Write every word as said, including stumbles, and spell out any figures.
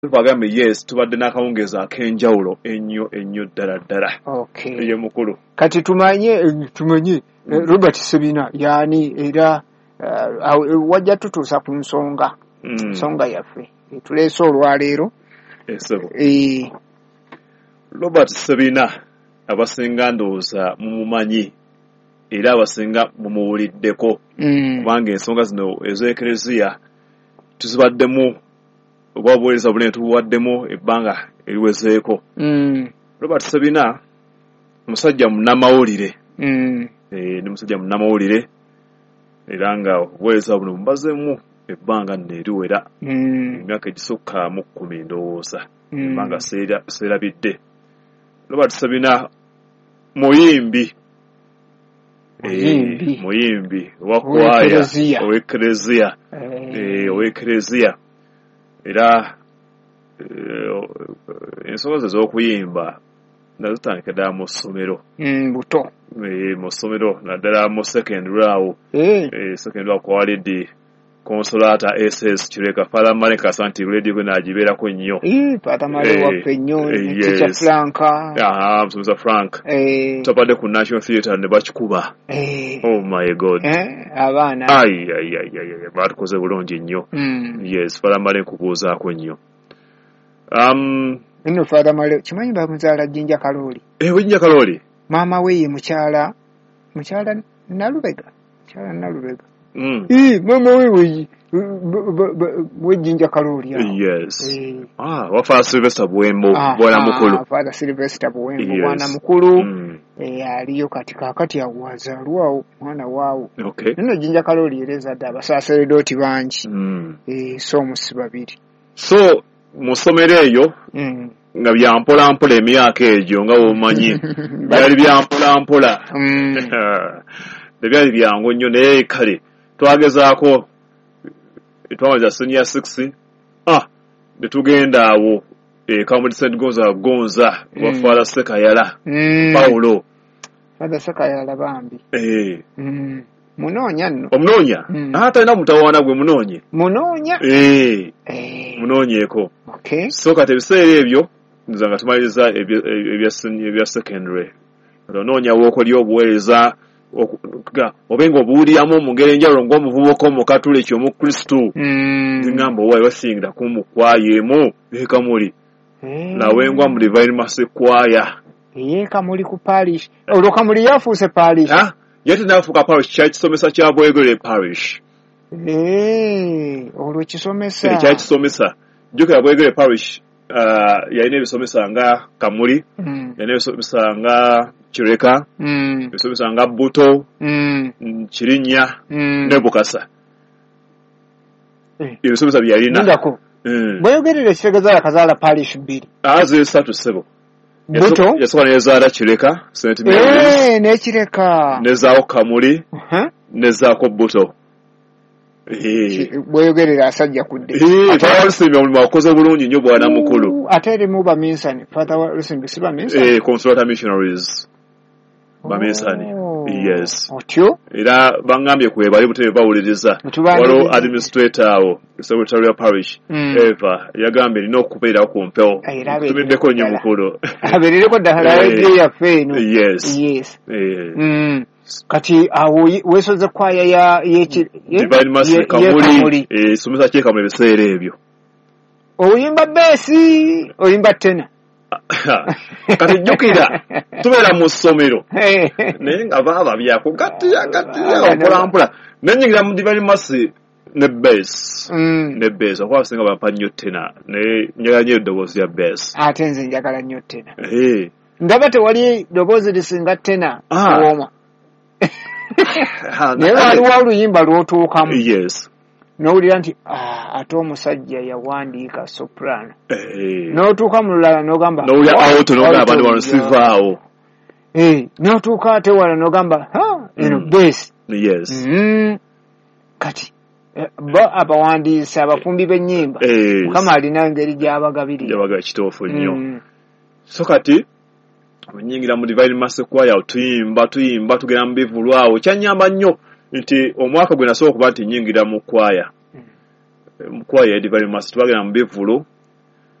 Bagambe yes, tubadde n'akawungeezi ak'enjawulo ennyo ennyo ddala ddala. Okay. Ye mukulu. Kati tumanye tumanye mm. Robert Ssebina yaani era uh, wajja tutuusa ku nsonga mm. nsonga yaffe tuleese olwaleero. Esebo. E... Robert Ssebina abasinga ndowooza mumumanyi era abasinga mumuwuliddeko mm. kubanga ensonga zino ez'Ekereziya tuzibaddemu oba obuweereza bunene tubuwaddemu ebbanga eriwezeeko. Mm. Robert Ssebina musajja munnamawulire. Mm. Eh, ni musajja munnamawulire era nga obuweereza buno bumbazeemu ebbanga nno eriwera mm. emyaka egisukka mu kkumi ndowooza mm. ebbanga seerabidde. Robert Ssebina muyimbi. Muyimbi. E, muyimbi wa kwaya ow'Ekereziya. Eh, ow'Ekereziya. Era ensonga ze z'okuyimba nazo zitandika ddala mu ssomero. Mm, buto. E, mu ssomero naddala mu secondary awo. Eh. E, secondary awo kwalidde Consolata S S Kireka Father Male Kasanti radio gwe nagibeerako nnyo. Eh, Father Male waffe nnyo, Teacher Frank. Aha, Musomesa Frank. Eh. Tubadde ku National Theatre ne bakikuba. Eh. Oh my God. Eh, abaana. Ai ai ai ai, batukoze bulungi nnyo. Mm. Yes, Father Male nkubuuzaako nnyo. Um, Nno Father Male, kimanyi bamuzaala Jinja Kalooli. Eh, Jinja Kalooli. Maama we ye mukyala, mukyala Nalubega. Mukyala Nalubega. Mm. Eh, mama wewe we Jinja Kalooli. Yes. Eh. Ah, wa Father Sylvester Buwembo, bwana mukulu. Father Sylvester Buwembo, yes. Bwana mukulu. Mm. Eh, aliyo katika kati awazalwa mwana wao. Okay. Nno Jinja Kalooli ereza dda abasaseredoti bangi. Mm. Eh, so musi babiri. So mu ssomero eyo mm. nga bya mpola mpola emyaka egyo nga bw'omanyi byali bya mpola mpola. Mm. Tebyali byangu nnyo naye kale twagezaako twamaliza senior six ah ne tugenda awo e Kamuli Saint Gonza Gonza mm. wa Father Sekayala mm. Paulo Father Sekayala bambi eh mm. Munoonya nno omunoonya mm. ate alina mutawaana gwe munoonye munoonya eh eh munoonyeeko. Okay. So kati ebiseera ebyo nze nga tumaliriza ebya ebya secondary onoonya w'okolya obuweereza obenga obuwuliramu mu ngeri enjawulo ng'omuvubuka omukatuliki omukristu. Mm. Ngamba owaayi wasingira ku mu kwaya emu e Kamuli. Mm. Nawengwa mu Divine Mercy Choir. Ye Kamuli ku parish. Olwo Kamuli yafuuse parish. Ha? Ye tenafuuka parish, kyali kisomesa kya Bwegere parish. Eh, olwo kisomesa. Kyali kisomesa. Jjukira Bwegere parish uh, yalina ebisomesa nga Kamuli, mm. yalina ebisomesa nga Kireka, mm. ebisomesa nga Buto, mm. Kirinnya, mm. ne Bukasa. Eh. Ebisomesa bye yalina. Lindako. Mm. Bweyogerera ekitegeeza yakazaala parish bbiri. Ah, ziri ssatu ssebo. Buto? Yasooka nezaala Kireka, Saint Mary's. Eh, ne Kireka. Nezaako Kamuli, uh -huh. nezaako Buto. Eh. Bweyogerera asajja kudde. Eh, Father Lusimbi omulimu akoze bulungi nnyo bwana mukulu. Ate erimu baminsani. Father Lusimbi si baminsani? Eh, Consolata Missionaries. Baminsani. Oh. Yes. Otyo? Era bangambye kwe bali butebe bawuliriza. Waliwo administrator awo, Secretary of Parish, mm. Eva, yagambye nina okubeera ku mpewo. Tumiddeko nnyo mukulu. Abeerereko ddala radio yaffe eno. Yes. Yes. Eh. Mm. Kati awo weesoze kwaya ya Divine Mercy Kamuli. Eh, somesa kye Kamuli ebiseera ebyo. Oyimba beesi, oyimba tena. Kati jjukira tubeera mu ssomero naye nga baaba byakugattiya gattiya mpola mpola nennyingira mu Divine Mercy ne bass mm. ne bass okuba abasinga bampa nnyo tena naye njagala nnyo eddoboozi lya bass. Ate nze njagala nnyo tena. Eh. Ndaba tewali ddoboozi lisinga tena kuwooma. Naye waliwo oluyimba lw'otuukamu. Yes. N'owulira nti ah, ate omusajja yawandiika soprano. Eh. N'otuuka mu lulala n'ogamba n'owulira alto n'ogamba abantu bano sivaawo. Eh, n'otuuka ate wala n'ogamba ha eno mm. bass. Yes. Mm. Kati bo abawandiisi abafumbi b'ennyimba yes. Mukama alina engeri gy'abagabirira. Gy'abagabira kituufu nnyo. Mm. So kati nnyingira mu Divine Mercy Choir tuyimba tuyimba tugenda mu bivvulu awo kyannyamba nnyo nti omwaka gwe nasooka okuba nti nnyingira mu kwaya Mm. mu kwaya ya Divine Mercy twagenda mu bivvulu